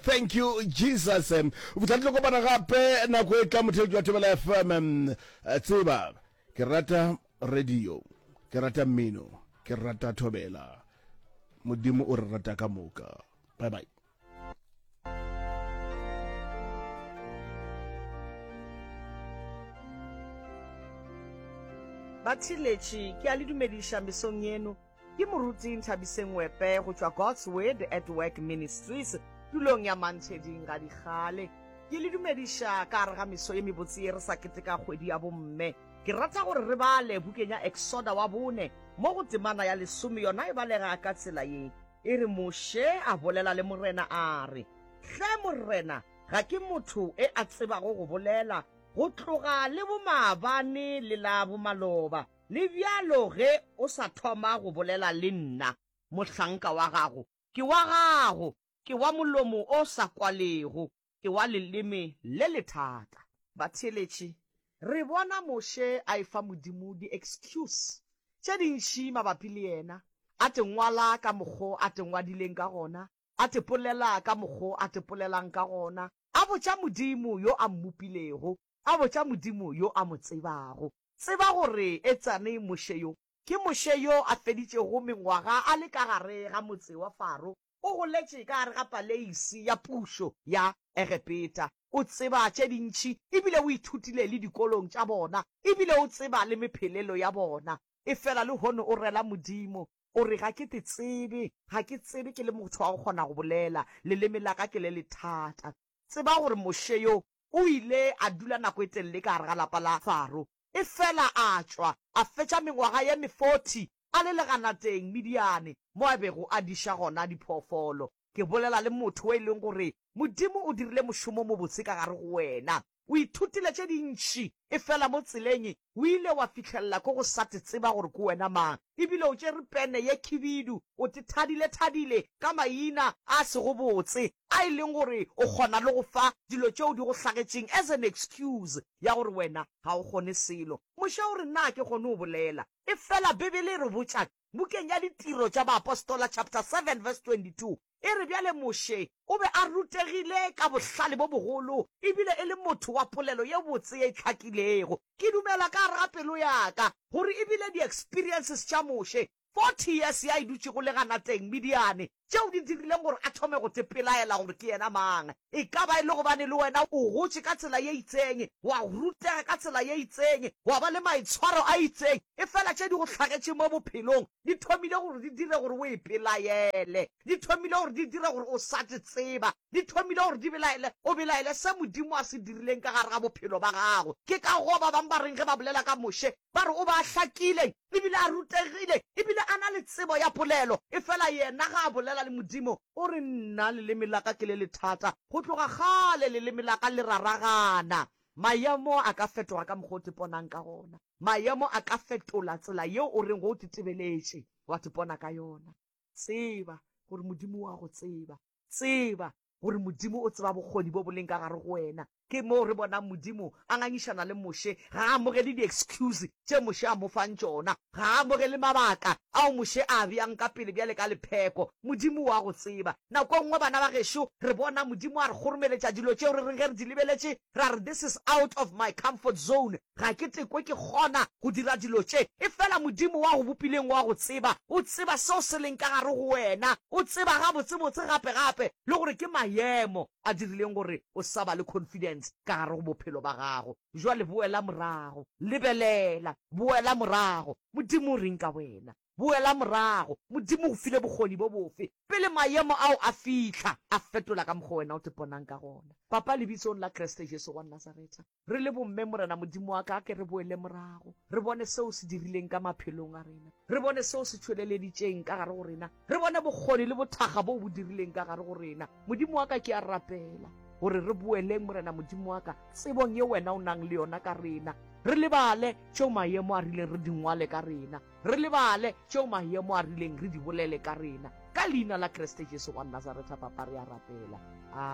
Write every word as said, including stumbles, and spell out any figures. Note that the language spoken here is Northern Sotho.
Thank you Jesus. O fihla tlo kopana gape nako e tla motheletši wa Thobela F M. Tseba ke rata radio, ke rata mmino, ke rata Thobela. Modimo o re rata ka moka. Bye bye. Batheeletši, ke a le dumediša mesong yeno. Ke Moruti Nthabiseng Wepe go tšwa God's Word at Work Ministries tulong ya Mantsheding ga Dikgale. Ke le dumediša ka gare ga meso ye mebotse ye re sa keteka kgwedi ya bomme. Ke rata gore re bale bukeng ya Exoda wa bone mo go temana ya lesome, yona e balega ka tsela ye. E re, Moshe a bolela le Morena a re, Hle Morena, ga ke motho e a tsebago go bolela go tloga le bomaabane le la bomaloba. Le bjalo ge o sa thoma go bolela le nna, mohlanka wa gago, ke wa gago, ke wa molomo o sa kwalego, ke wa leleme le lethata. Batheeletši, re bona Moshe a efa Modimo di-excuse tše dintši mabapi le yena, a te ngwala ka mokgo a te ngwadileng ka gona, a te polela ka mokgo a te polelang ka gona, a botša Modimo yo a mmopilego, a botša Modimo yo a mo tsebago. Tseba gore etsane Moshe yo, ke Moshe yo a feditšego mengwaga a le ka gare ga motse wa Faro, o goletše ka gare ga paleisi ya pušo ya Egepeta, o tseba tše dintši e bile o ithutile le dikolong tša bona, e bile o tseba le mephelelo ya bona. Efela lehono o rela Modimo, o re, Ga ke te tsebe, ga ke tsebe ke le motho wa go kgona go bolela, leleme la ka ke le lethata. Tseba gore Moshe yo o ile a dula nako e telele ka gare ga lapa la Faro, Efela a tšwa, a fetša mengwaga ye meforty a le leganateng Midiane, mo a bego a diša gona diphoofolo. Ke bolela le motho o e leng gore Modimo o dirile mošomo o mobotse ka gare go wena. O ithutile tše dintši, efela mo tseleng o ile wa fihlelela ko go sa te tseba gore ke wena mang. Ebile o tšere pene ye khibidu, o te thadile-thadile ka maina a sego botse, a e leng gore o kgona le go fa dilo tšeo di go hlagetšeng as an excuse ya gore wena ga o kgone selo. Moshe o re, Na ke kgone go bolela? Efela Bibele e re botša bukeng ya Ditiro tša Baapostola chapter seven verse twenty two, e re, Bjale Moshe o be a rutegile ka bohlale bo bogolo, e bile e le motho wa polelo ye botse ye e hlakilego. Ke dumela ka gare ga pelo ya ka gore e bile di-experiences tša Moshe, forty years ya e dutšego leganateng Midiane, tšeo di dirileng gore a thome go tepelaela gore ke yena mang. E ka ba e le gobane le wena o gotše ka tsela ye itseng, wa rutega ka tsela ye itseng, wa ba le maitshwaro a itseng, efela tše di go hlagetše mo bophelong di thomile gore di dire gore o ipelaele, di thomile gore di dire gore o sa te tseba, di thomile gore di belaele, o belaele se Modimo a se dirileng ka gare ga bophelo ba gago. Ke ka goo ba bangwe ba reng ge ba bolela ka Moshe, ba re o ba a hlakile, ebile a rutegile, ebile a na le tsebo ya polelo, efela yena ga a bolela le Modimo, o re, Nna leleme la ka ke le lethata, go tloga kgale leleme la ka le raragana. Maemo a ka fetoga ka mokgwa o teponang ka gona. Maemo a ka fetola tsela yeo o reng ge o tetebeletše wa tepona ka yona. Tseba gore Modimo o a go tseba. Tseba gore Modimo o tseba bokgoni bo bo leng ka gare go wena. Ke moo re bonang Modimo a ngangišana le Moshe. Ga a amogele di-excuse tše Moshe a mo fang tšona. Ga a amogele mabaka ao Moshe a a beang ka pele bjale ka lepheko. Modimo o a go tseba. Nako e nngwe bana ba gešo re bona Modimo a re kgoromeletša dilo tšeo re reng ge re di lebeletše ra re this is out of my comfort zone, ga ke tekwe ke kgona go dira dilo tše. Efela Modimo wa go bopileng o a go tseba. O tseba seo se leng ka gare go wena. O tseba gabotsebotse gape-gape le gore ke maemo a dirileng gore o sa ba le confidence ka gare go bophelo ba gago. Jwale boela morago. Lebelela. Boela morago. Modimo o reng ka wena? Boela morago. Modimo o go file bokgoni bo bofe? Pele maemo ao a fihla, a fetola ka mokgwa wena o te ponang ka gona. Papa, Lebitsong la Kriste Jesu wa Nazaretha, re le bomme, Morena Modimo wa ka, a ke re boele morago, re bone seo o se dirileng ka maphelong a rena, re bone seo o se tšweleleditšeng ka gare go rena, re bone bokgoni le bothakga boo bo dirileng ka gare go rena. Modimo wa ka, ke a rapela gore re boeleng, Morena Modimo wa ka, tsebong ye Wena o nang le yona ka rena, re lebale tšeo maemo a rileng re di ngwale ka rena, re lebale tšeo maemo a rileng re di bolele ka rena. Ka Leina la Kriste Jesu wa Nazaretha, Papa, re a rapela.